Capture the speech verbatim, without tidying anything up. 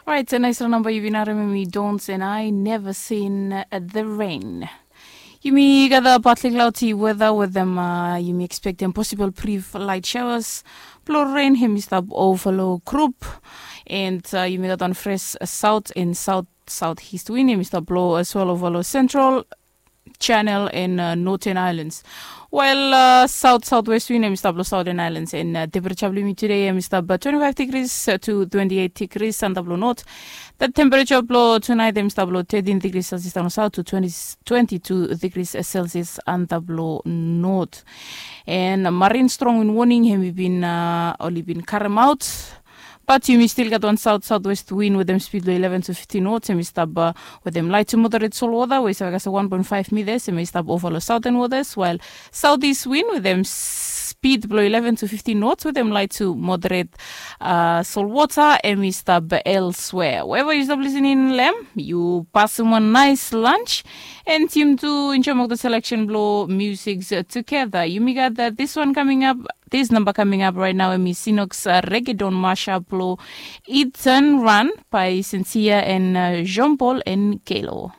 Orait, nais ra namba yu bin harem em i Dons and I Never Seen the Rain. Yumi gat a partly cloudy weather wetem uh, yumi expectem possible brief light showers. Blo rain hem i stap overlo group and uh, yumi gat on fresh south and south southeast wind hem i stap blo as well overlo central Channel and uh, Northern Islands. While uh, South Southwest wind em i stap lo Southern Islands and uh, temperature blo yumi today em i stap uh, twenty-five degrees uh, to twenty-eight degrees under blo north. That temperature blo tonight em i stap lo thirteen degrees Celsius down south to twenty, twenty-two degrees Celsius under blo north. And marine strong wind warning hem i bin uh, oli bin karem out. But yumi stil gat wan south southwest wind wetem speed blo eleven to fifteen knots em i stap uh, wetem light to moderate sol water we i save kasem one point five meters em i stap over lo southern waters, while southeast wind wetem speed blo eleven to fifteen knots wetem light to moderate uh, sol water em i stap elsewhere. Wherever yu stap listening lem, yu pasem wan nice lunch and yumi tu enjoy mok the selection blo music together. Yumi gat uh, this one coming up. This number coming up right now em i Sinox uh, Reggaeton mashup lo Ethan Run by Sincere and uh, Jean Paul and Kalo.